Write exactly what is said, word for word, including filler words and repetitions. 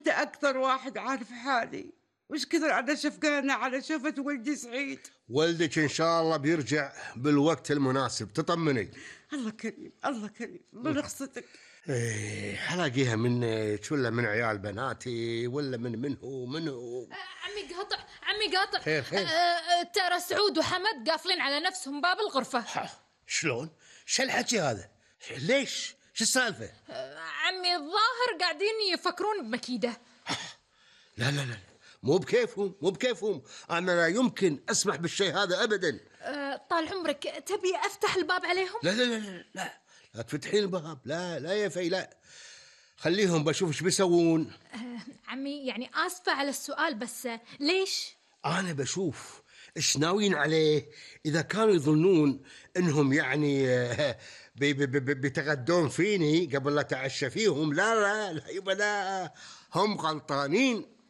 أنت أكثر واحد عارف حالي، وش كثر أنا شفقانة على شوفة ولدي سعيد. ولدك إن شاء الله بيرجع بالوقت المناسب، تطمني. الله كريم الله كريم من رخصتك. إيه حلاقيها منك ولا من عيال بناتي ولا من منه منه. عمي قاطع عمي قاطع خير خير. أه ترى سعود وحمد قافلين على نفسهم باب الغرفة. شلون؟ شو الحكي هذا؟ ليش؟ شو السالفة؟ أه عمي الظاهر قاعدين يفكرون بمكيدة. لا لا لا مو بكيفهم مو بكيفهم، أنا لا يمكن أسمح بالشيء هذا أبدا. أه طال عمرك تبي أفتح الباب عليهم؟ لا لا لا لا لا, لا تفتحين الباب، لا لا يا في لا، خليهم بشوف ايش بيسوون. أه عمي يعني آسفة على السؤال بس ليش؟ أنا بشوف إيش ناويين عليه. إذا كانوا يظنون إنهم يعني بي بي بي بيتغدون فيني قبل لا تعشى فيهم، لا لا لا يبقى لا، هم غلطانين.